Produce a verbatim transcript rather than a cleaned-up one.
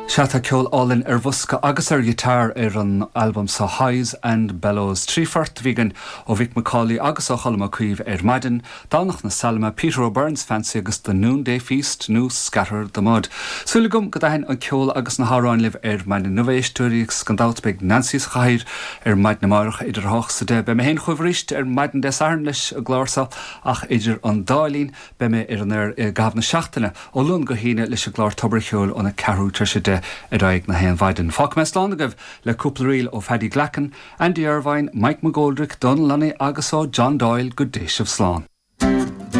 Sea tá ceol álainn ar bhosca agus ar ghiotár ar an albam seo Highs and Bellows. Trí phort a bhí againn ó Mhick McCauley agus ó Cholm Ó Caoimh ar maidin, Domhnach na Saileime, Peter O'Byrne's Fancy agus The Noonday Feast nó Scatter the Mud. Súil agam go dtaithin an ceol agus na hamhráin libh ar maidin inniu a éisteoirí agus gan dabht beidh Nancy sa chathaoir ar maidin amárach idir hocht is a deich. Beidh mé féin chugaibh arís ar maidin Dé Sathairn leis an gclár seo ach idir an dá linn beidh mé ar an aer i gcaitheamh na seachtaine ó Luan go hAoine leis an gclár Tobar an Cheoil óna ceathrú tar éis a deich ar aghaidh na haon mhaidin. Fágfaidh mé slán agaibh le cúpla ríl ó Phaddy Glackin, Andy Irvine, Mike McGoldrick, Donal Lunny agus ó John Doyle go dté sibh slán.